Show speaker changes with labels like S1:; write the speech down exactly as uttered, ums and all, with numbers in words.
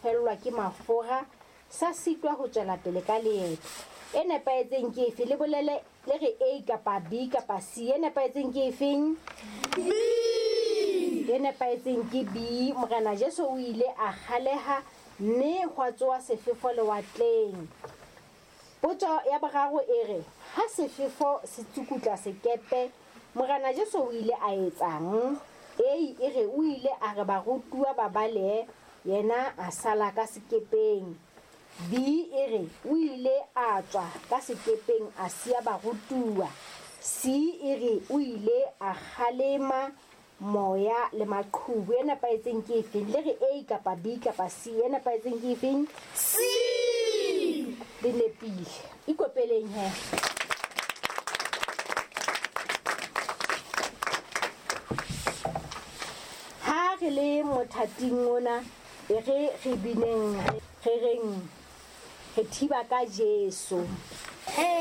S1: fellwa ke mafura, sa sitwa ho tswela pele ka leeto. E nepahetseng ke efe? Le bolele le re A kapa B kapa C. E nepahetseng ke efeng?
S2: B.
S1: E nepahetseng ke B. Morena Jesu o ile a kgaleha mme hwa tsoha sefefo lewatleng. Potso ya boraro e re, ha sefefo se tsukutla sekepe, Morena Jesu o ile a etsang? A e re o ile a re barutuwa ba balehe, yena a sala ka sekepeng. B e re o ile a tswa ka sekepeng a siya barutuwa. C e re o ile a kgalema moya le maqhubu. E nepahetseng ke efeng? Le re A kapa B kapa C. E nepahetseng ke efeng?
S2: C.
S1: Le nepile. Ikopeleng he. Ha re le mothating ona, e re re bineng, re reng re thiba ka Jesu.
S2: Hey.